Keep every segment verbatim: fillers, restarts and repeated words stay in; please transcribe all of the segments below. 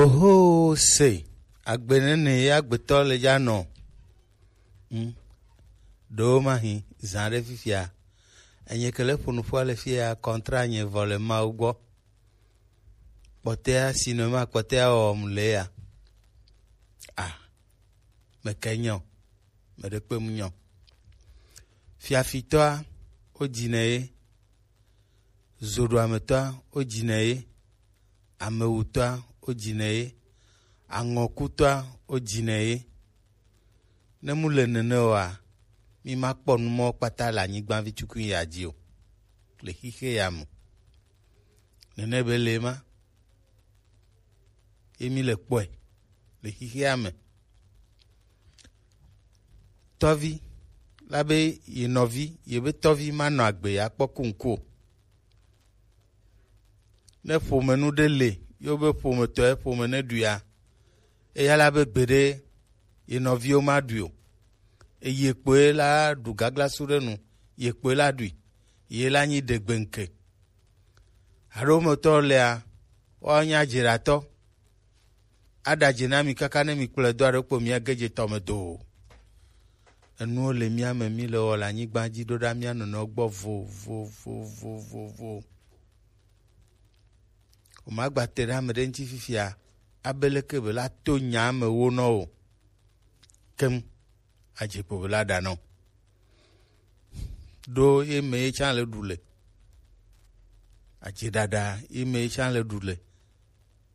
Oho, se agbe nene ye agbetɔ le dza nɔ. Hmm. Ɖewo ma hi zã ɖe fifia. Enye ke le ƒo nu ƒua le fia, kɔntra nye vɔ le Mawu gbɔ. Kpɔtɛa, sinema kpɔtɛa wɔm le ya. Ah, meke nyɔ, meɖe kpe mu nyɔ. Fiafitɔa, wo dzi ne ye. Zoɖoametɔa, wo dzi ne ye. Amewutɔa, wo dzi ne ye. Aŋɔkutɔa, wo dzi ne ye. Ne mu le nene oa, mi ma kpɔ nu mɔ kpata le anyigba vi tukui ya dzi o. Le xixe ya me. Nene be le ma. Ye mi le kpɔe le xixea me. Tɔvi la be ye nɔvi, ye be tɔvi ma nɔ agbe ya kpɔ kuŋku o. Ne ƒomenu ɖe le, yo be ƒometɔ ye ƒome ne ɖuia, eya la be gbeɖe ye nɔviwo ma ɖui o. Eye kpoe la ɖu gaglasu ɖe nu, ye kpoe la ɖui, ye la nyi ɖegbeŋke. Haɖometɔ lea, woawo nya dzeɖatɔ. Aɖadze na mi kaka ne mi kplɔe do aɖe kpo mi age dze tɔ me do o. Enuwo le mía me mi le wɔ le anyigba dzi ɖo ɖa mía nɔnɔewo gbɔ vovovovovovo. O ma gba te ɖe ame ɖe ŋuti fifia, abe leke be la to nya me wo nɔ o. Kem. Adze kpo be la ɖa nɔ. Ɖo ye me ye tsã le ɖu le. Adze ɖaɖa ye me ye tsã le ɖu le.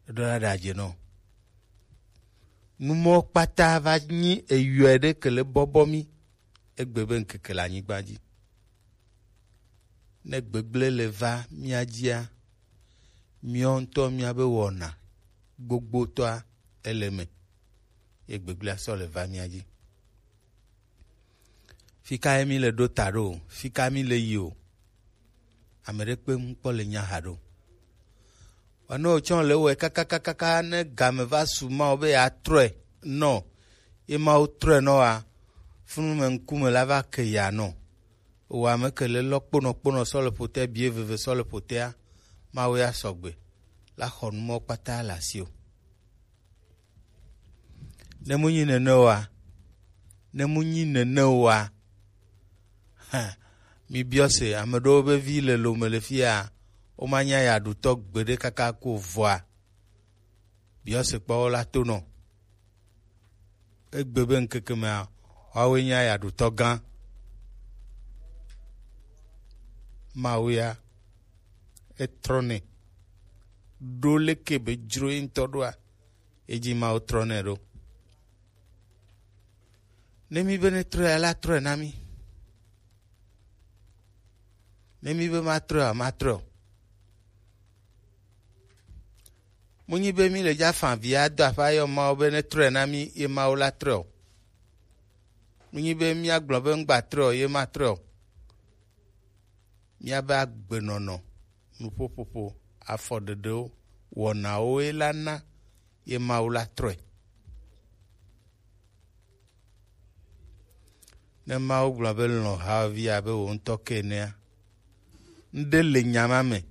Eɖo la ɖa adze nɔ. Numɔ kpata va nyi eyɔe ɖe ke le bɔbɔ mi. Egbe be ŋkeke le anyigba dzi. Ne gbegblẽ le va mía dzia, míawo ŋutɔ míabe wɔna gbogbotɔa ele me, ye gbegblẽa sɔ le va mía dzi. Fika ye mi le ɖo ta ɖo o, fika mi le yi o. Ame ɖe kpe ŋu kpɔ le nya ha ɖo. Wòanɔ tsɔ le wɔe kakakakaka ne game va su Mawu be yeatrɔe nɔ, ye Mawu trɔe nɔ wa, funu me ŋkume la va ke ya nɔ. Wò ame ke le lɔ kponɔ kponɔ sɔ le ƒotea, bie veve sɔ le ƒotea, Mawu ya sɔgbe la xɔ numɔ kpata le asi o. Ne mu nyi nene oa, ne mu nyi nene oa, hã, mi biɔ se, ame ɖewo be vi le lome le fia, woma nya ya ɖutɔ gbeɖe kaka ko vɔa, biɔ se kpɔ wo la to nɔ. Egbe be ŋkeke mea, woawoe nye ayaɖutɔ gã. Mawu ya, etrɔnɛ. Ɖo leke be dzro ye ŋutɔ ɖoa, edzi Mawu trɔnɛ ɖo. Ne mi be ne trɔe, la trɔe na mi. Ne mi be matrɔe, matrɔe o. Munyi be mi le dza fa vi ado aƒe ayɔ Mawu be ne trɔe na mi, ye Mawu la trɔe o. Munyi be míagblɔ be ŋgba trɔe o, ye matrɔe o. Míabe agbenɔnɔ, nuƒoƒoƒo, afɔɖeɖewo, wɔnawo ye la na ye Mawu la trɔe. Ne Mawu gblɔ be lɔ̃ havi abe wò ŋutɔ ke enea, ŋɖe le nya ma me